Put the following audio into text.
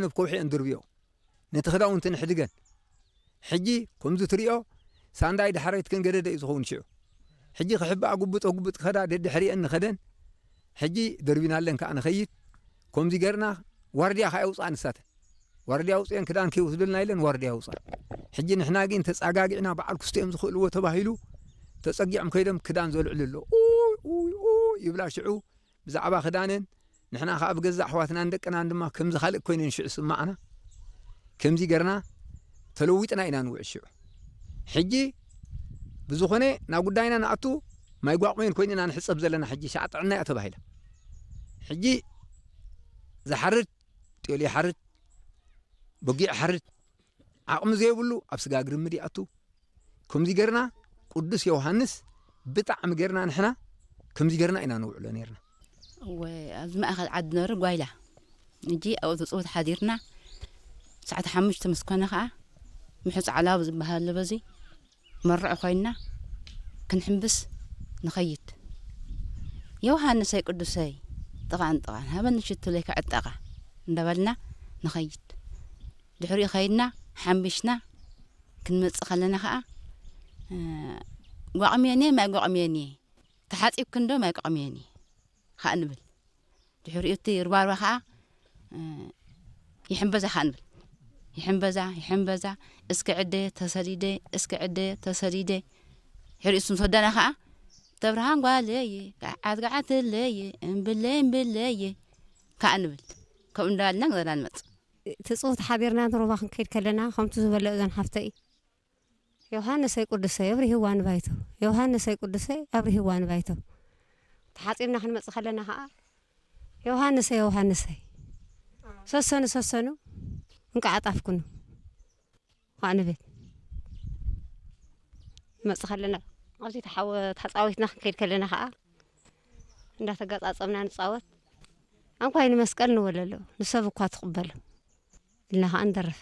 ኣብ ከውሒ ኣንድርብዮ፣ ነቲ ክዳውንቲ ንሕድገን። ሕጂ ከምዚ ትሪኦ ሳንዳይ ዳሕረይትከን ገደደ እዩ ዝኸውን ሽዑ። ሕጂ ክሕብኣ ጉብጦ ጉብጥ ክኸዳ ደድሕሪአን ንኸደን። ሕጂ ደርቢናለን ከኣ ንኸይድ። ከምዚ ገርና ዋርድያ ከኣ የውፅኣ ንሳተን። ዋርድያ ኣውፅአን ክዳን ከይወስደልና ኢለን ዋርድያ ኣውፅኣ። ሕጂ ንሕና ግን ተፃጋጊዕና በዓል ክስቲኦም ዝኽእልዎ ተባሂሉ ተፀጊዖም ከይዶም ክዳን ዘልዕሉ ኣሎ። ኡይ ኡይ ኡይ ይብላ ሽዑ ብዛዕባ ክዳነን። ንሕና ከኣ ብገዛእ ኣሕዋትናን ደቅናን ድማ ከምዚ ካልእ ኮይነን ሽዑ ስማዕና። ከምዚ ገርና ተለዊጥና ኢና ንውዕል ሽዑ። ሕጂ ብዝኾነ ናብ ጉዳይና ንኣቱ። ማይ ጓቑሜን ኮይንና ንሕፀብ ዘለና ሕጂ ሻዕ ጥዕና እያ ተባሂላ። ሕጂ ዝሓርድ ጤል ይሓርድ፣ በጊዕ ሓርድ፣ ዓቕሚ ዘይብሉ ኣብ ስጋ ግርምድ ይኣቱ። ከምዚ ገርና ቅዱስ ዮሃንስ ብጣዕሚ ገርና ንሕና ከምዚ ገርና ኢና ንውዕሎ ነርና። እወ፣ ኣብዚ ማእኸል ዓዲ ነሩ ጓይላ። እጂ ኣብኡ ትፅውት ሓዲርና። ሰዓት ሓሙሽተ ምስ ኮነ ከዓ ምሑፅ ዓላቡ ዝበሃል ኣሎ። በዚ መርዑ ኮይንና ክንሕምብስ ንኸይድ። ዮሃንሰይ ቅዱሰይ፣ ጥቓን ጥቓን ሃበኒ ሽቱለይ ክዕጠቓ እንዳበልና ንኸይድ። ድሕሪኡ ከይድና ሓምቢሽና ክንመፅእ ከለና ከዓ፣ እ፣ ጓቕምየን እየ፣ ማይ ጓቕምየን እየ፣ ተሓፂብክን ዶ ማይ ጓቕምየን እየ ከዓ ንብል። ድሕሪኡ እቲ ርባርባ ከዓ፣ እ፣ ይሕምበዛ ከዓ ንብል። ይሕምበዛ፣ ይሕምበዛ፣ እስኪ ዕደ ተሰሊደ፣ እስኪ ዕደ ተሰሊደ። ድሕሪኡ ምስ ወዳና ከዓ፣ ተብርሃን ጓለየ፣ ገዓት ገዓትለየ፣ እምብለይ እምብለየ ከዓ ንብል። ከምኡ እንዳበልና ንገዛ ንመፅእ። ትፅውት ሓዲርና ሩባ ክንከይድ ከለና ከምቲ ዝበለ እዘን ሓፍተይ፣ ዮሃንሰይ ቅዱሰይ ኣብርሂዋ ንባይቶ፣ ዮሃንሰይ ቅዱሰይ ኣብርሂዋ ንባይቶ። ተሓፂብና ክንመፅእ ከለና ከዓ፣ ዮሃንሰይ ዮሃንሰይ ሰሰኑ ሰሰኑ እንቃዕ ኣጣፍኩኑ ከዓ ንብል። ንመፅእ ከለና ኣብዚ ተሓወ-፣ ተፃዊትና ክንከይድ ከለና ከዓ እንዳተጋፃፀምና ንፃወት። ኣንኳይ ንመስቀል ንበለሎ ንሰብ እኳ ትቕበሎ ኢልና ከዓ ንደርፍ።